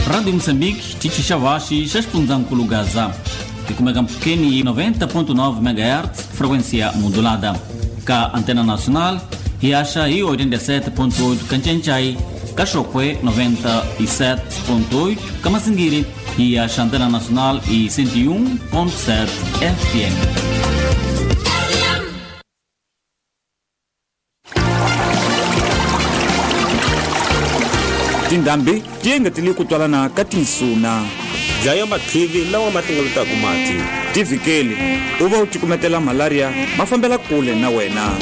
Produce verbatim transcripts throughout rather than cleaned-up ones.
Rádio Moçambique, Tixixavaxi, Xaspunzankulu Gaza. Tikumeka mpukeni noventa ponto nove megahertz, frequência modulada. Ka Antena Nacional, Riacha e oitenta e sete ponto oito Canchenchay, Caxoque noventa e sete ponto oito Camazinguiri e a Antena Nacional e cento e um ponto sete F M. Tindambi tiengetele ku twalana ka tinsuna dlaya mathivi lawa ma hlengeletaka mati tivikeli u va u cukumetela malaria ma fambela kule na wena.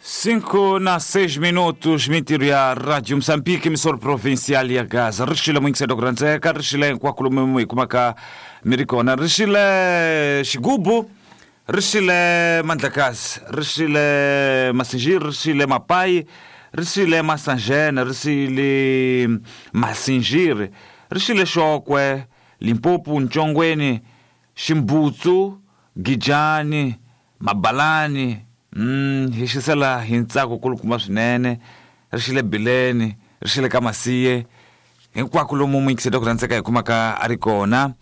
Cinco na seis minutos, mintiru ya Radio Moçambique, emissora provincial ya Gaza. Rixile mwingisedo kurandzeka, rixile hinkwako lomu hi kumaka mi ri kona. Rixile xigubu, rixile Mandlakazi, rixile Masinjiri, rixile Mapai, rixile Masanjena, rixile Masinjiri, rixile Xokwe, Limpopo, Ntshongweni, Ximbutsu, Gijani, Mabalani. Mm, hi xisela hi ntsako kulukumba swinene, rixile Bileni, rixile ka Masiye, hinkwako lomu muyingiseri ku rhandzeka hi kumaka a ri kona.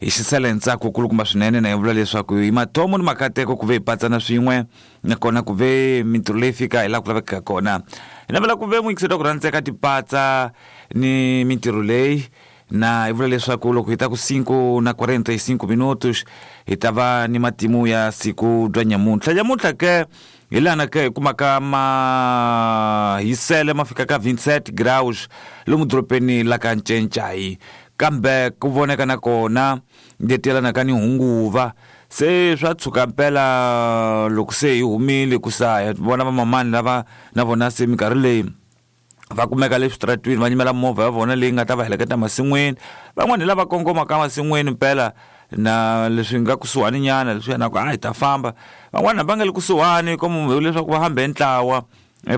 Hi xisela hi ntsako kulukumba swinene na hi vula leswaku hi mathomo ni makateko ku ve hi patsana swin'we, nakona ku ve mintirho leyi fika hi laha ku lavekaka kona. Hi navela ku ve muyingiseri ku rhandzeka tipatsa ni mintirho leyi, na hi vula leswaku loko hi ta ku cinco na quarenta e cinco minutos hi ta va ni matimu ya siku bya nyamuntlha. Nyamuntlha ke hi lana ke hi kumaka mahisele ma fika ka vinte e sete graus lomu dorobeni la ka Ncencai, kambe ku voneka na kona ngetelana ka ni hunguva se swa tshuka mpela loko se hi humile ku sa vona vamamani lava na vona se minkarhi leyi va kumeka le switaratwini va nyimela movha ya vona leyi nga ta va heleketa masin'wini. Van'wani lava kongomaka masin'wini mpela na leswi nga kusuhani nyana leswi na ku a hi ta famba, van'wana va nga le kusuhani komo leswaku va hambe ntlawa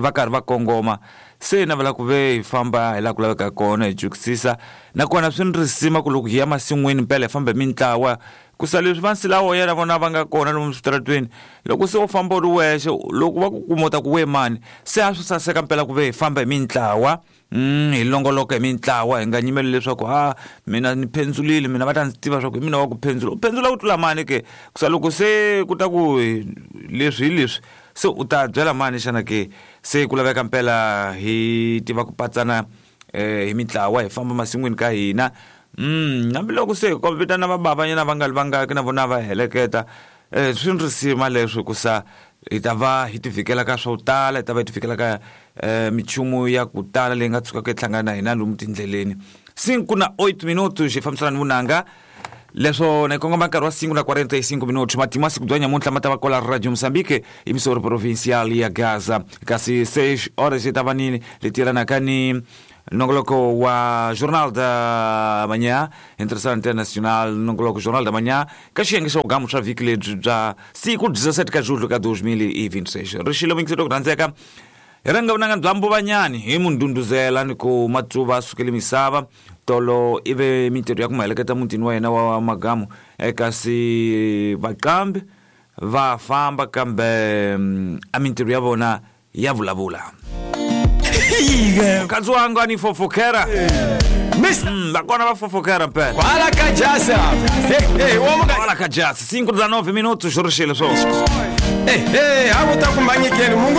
va karhi va kongoma. Se na vula ku ve hi famba hi laha ku lavekaka kona hi jukisisa, nakona swi ni risima ku loko hi ya masin'wini mpela hi famba hi mintlawa, ku sa leswi va nsilawo yena vona va nga kona lomu switaratwini loko se u famba u ri wexe loko va ku kuma u ta ku we mani. Se a swi saseka mpela ku ve hi famba hi mintlawa, mm, hi longoloka hi mintlawa, hi nga nyimeli leswaku ha mina ni phendzulile, mina va ta ndzi tiva swa ku hi mina wa ku phendzula. U phendzula ku tlula mani ke? Ku sa loko se ku ta ku leswi hi leswi se u ta byela mani xana ke? Se ku laveka mpela hi tiva ku patsana eh, hi mintlawa hi famba masin'wini ka hina. Mm, hambiloko se ko vitana vabavanyana va nga ri vangaki na vona va heleketa, eh, swi ni risima leswi ku sa hi ta va hi ti fikela ka swo tala, hi ta va hi ti fikela ka eh, minchumu ya ku tala leyi nga tshukaka yi hlangana na hina lomu tindleleni. Cinco na oito minutos hi fambisana ni vunanga leswo na kongoma nkarhi wa cinco na quarenta e cinco minutos. Matimu ya siku bya nyamuntlha ma ta va kwala Radio Moçambique, emissora provincial ya Gaza, kasi seis horas hi ta va nini leti yelanaka ni nongoloko wa Jornal da Manhã, Interessante Internacional, nongoloko Jornal da Manhã, ka xiyenge xa vugamu swa vhiki lebyi bya siku dezessete ka julho ka dois mil e vinte e seis. Rixile muyingiseri ku rhandzeka hi rhanga vunanga bya Mbuvanyani hi mundhundhuzela ni ku matsuva a sukele misava tolo ive mintirho ya ku maheleketa mutini wa yena wa magamu, kasi vaqambi va famba kambe a mintirho ya vona ya vulavula. Mukadzi wangu ani fofokera. Mm, vakona va fofokera mpela. Kwala kajasa. Hey, hey, Kwala kajasa. Cinco da nove minutos, rixile swo. Hey, hey, a wu ta ku manyikeni Mungu.